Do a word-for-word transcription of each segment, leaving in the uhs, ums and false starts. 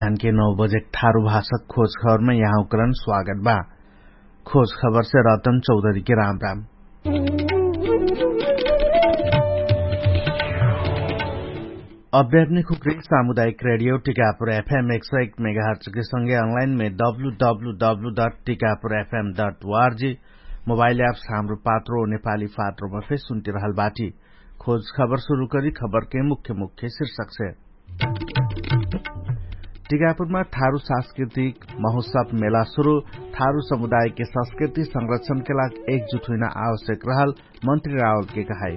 धानके नौ बजेक थारु भाषक खोज खबरमे यहाँ उकरन स्वागत बा। खोज खबरसे रतन चौधरीके राम राम। अभ्यात्मिक हुक्रिक सामुदायिक रेडियो टिकापुर एफएम एक सौ एक मेगाहर्चके सँगे अनलाइनमे W W W dot Tikapur एफएम डट वार्जी मोबाइल एप्स हाम्रो पात्रो नेपाली पात्रोमा फेर सुन्तिरहल बाटी। खोज खबर सुरु करी खबरके मुख्य मुख्य शिर्षकसे। टिकापुरमा थारु सांस्कृतिक महोत्सव मेला सुरु। थारु समुदायके संस्कृति संरक्षणके लाग एकजुट हुइना आवश्यक रहल मन्त्री रावलके कहाई।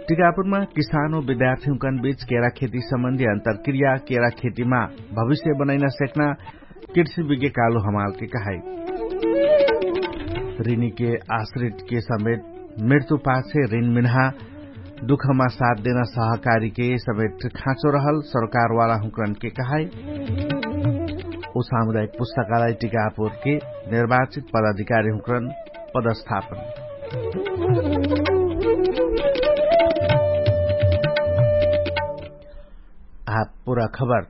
टिकापुरमा किसानो विद्यार्थीहुँकन बीच केरा खेती सम्बन्धी अन्तरक्रिया केरा खेतीमा भविष्य बनैना सेक्ना कृषि विज्ञ कालु हमालके कहाई। ऋणीके आश्रितके समेत मृत्यु पाछे ऋण मिन्हा दुखमा साथ देना सहकारीके समेत खाँचो रहल सरकारवाला हुँकरनके कहाई। उ सामुदायिक पुस्तकालय टिकापुरके निर्वाचित पदाधिकारी हुँकरन पदस्थापन। आ पुरा खबर।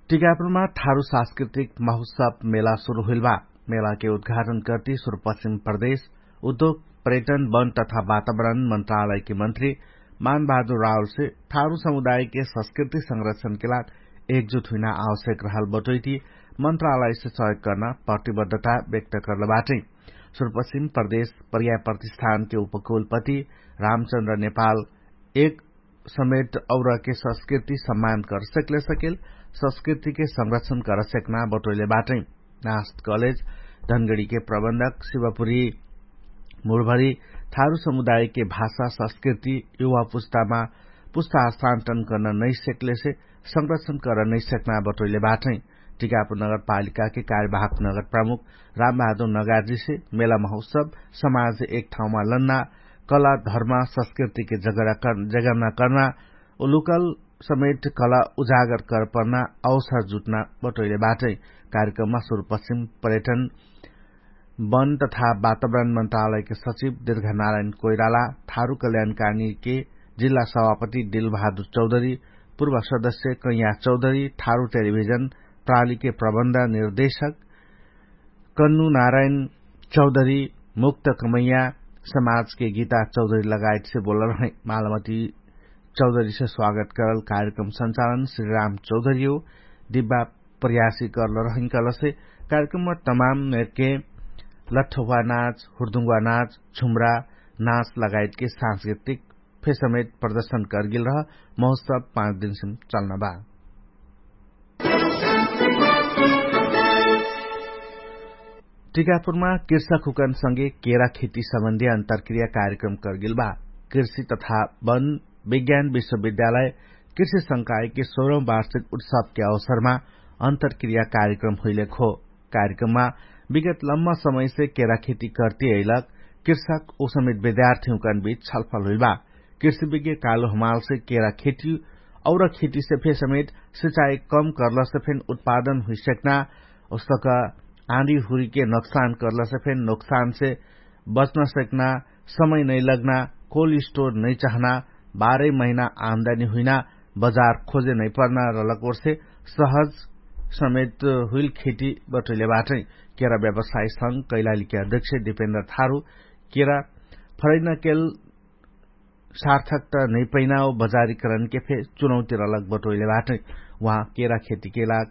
टिकापुरमा थारु सांस्कृतिक महोत्सव मेला सुरु हुइल बा। मेलाके उद्घाटन कर्ति सुरुपश्चिम प्रदेश उद्योग पर्यटन वन तथा वातावरण मन्त्रालयके मन्त्री मानबहादुर रावलसे थारु समुदायके संस्कृति संरक्षणके लाग एकजुट हुइना आवश्यक रहल बटोइति मन्त्रालयसे सहयोग कर्ना प्रतिबद्धता व्यक्त कर्ल बाटै। सुरुपश्चिम प्रदेश पर्याय प्रतिष्ठानके उपकुलपति रामचन्द्र नेपाल एक समेत औरके संस्कृति सम्मान कर सेकले सकेल संस्कृतिके संरक्षण कर सेकना बटोइले बाटै। नास्त कलेज धनगडीके प्रबन्धक शिवपुरी मुलभरी थारु समुदायके भाषा संस्कृति युवा पुस्तामा पुस्ता हस्तान्तरण कर्न नै सेकलेसे संरक्षण कर्न नै सेकना बटोइले बाटै। टिकापुर नगरपालिकाके कार्यवाहक नगर प्रमुख रामबहादुर नगार्जीसे मेला महोत्सव समाज एक ठाउँमा लन्ना कला धर्म संस्कृतिके जगर्ना कर्ना उ लोकल समेत कला उजागर कर पर्ना अवसर जुट्ना बटोइले बाटै। कार्यक्रममा सुरुपश्चिम पर्यटन वन तथा वातावरण मन्त्रालयके सचिव दीर्घनारायण कोइराला थारु कल्याणकानीके जिल्ला सभापति दिलबहादुर चौधरी पूर्व सदस्य कैया चौधरी थारु टेलिभिजन प्रालीके प्रबन्ध निर्देशक कन्नु नारायण चौधरी मुक्त कमैया समाजके गीता चौधरी लगायतसे बोलल रहै। मालमती चौधरीसे स्वागत करल कार्यक्रम सञ्चालन श्रीराम चौधरी हो। दिब्बा प्रयासी करल रहै कहलसे कार्यक्रममा तमाम मेरके लठ्ठौवा नाच हुर्दुङ्गवा नाच झुम्रा नाच लगायतके सांस्कृतिक फेसमेत प्रदर्शन करगेल रह महोत्सव पाँच दिनसिम चल्न बा। टिकापुरमा कृषक हुकन सँगे केरा खेती सम्बन्धी अन्तरक्रिया कार्यक्रम करगेल बा। कृषि तथा वन विज्ञान विश्वविद्यालय कृषि संकायके सोह्रौं वार्षिक उत्सवके अवसरमा अन्तरक्रिया कार्यक्रम हुइलेक हो। कार्यक्रममा विगत लम्मा समयसे केरा खेती कर्ति अइलक कृषक उसमेत विद्यार्थीहुँकन बीच छलफल हुइल बा। कृषि विज्ञ कालु हमालसे केरा खेती और खेतीसे फे समेत सिचाइ कम कर्लसे फेन उत्पादन हुइसक्ना उसक आँधी हुरीके नोक्सान कर्लसे फेन नोक्सानसे बच्न सक्ना समय नैलग्ना कोल्ड स्टोर नैचाहना बाह्रै महिना आम्दानी हुइना बजार खोजे नैपर्ना रलक ओर्से सहज समेत हुइल खेती बटोइले बाटै। केरा व्यवसाय संग कैलालीके अध्यक्ष दिपेन्द्र थारु केरा फरैना केल सार्थक त नैपैना ओ बजारीकरणके फे चुनौती रलक बटोइले बाटै। उहाँ केरा खेतीके लाग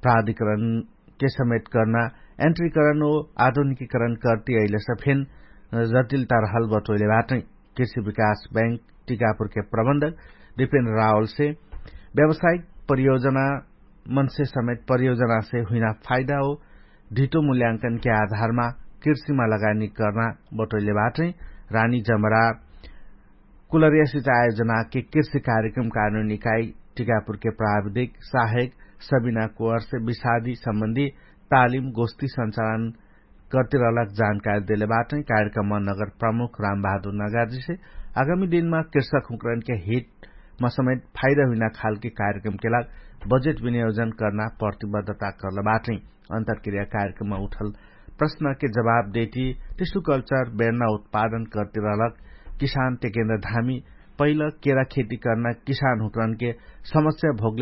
प्राधिकरणके समेत कर्ना एन्ट्रीकरण ओ आधुनिकीकरण कर्ति अइलेसे फेन जटिलता रहल बटोइले बाटै। कृषि विकास बैंक टिकापुरके प्रबन्धक दिपेन्द्र रावलसे व्यावसायिक परियोजना मनसे समेत परियोजनासे हुइना फाइदा हो ढिटो मूल्यांकनके आधारमा कृषिमा लगानी कर्ना बटोइले बाटै। रानी जमरा कुलरिया सिचाइ आयोजनाके कृषि कार्यक्रम कानुन इकाइ टिकापुरके प्राविधिक साहेक सबिना कोहरसे विषादी सम्बन्धी तालिम गोष्ठी सञ्चालन कर्तिरहलक जानकारी देले बाटै। कार्यक्रममा नगर प्रमुख रामबहादुर नगार्जीसे आगामी दिनमा कृषक हुँकरनके हितमा समेत फाइदा हुइना खालके कार्यक्रमके लाग बजेट विनियोजन कर्ना प्रतिबद्धता कर्ल बाटै। अन्तरक्रिया कार्यक्रममा उठल प्रश्नके जवाब देति टिसु कल्चर बेर्ना उत्पादन कर्तिरहलक किसान टेकेन्द्र धामी पहिल केरा खेती कर्ना किसान हुँकरनके समस्या भोगले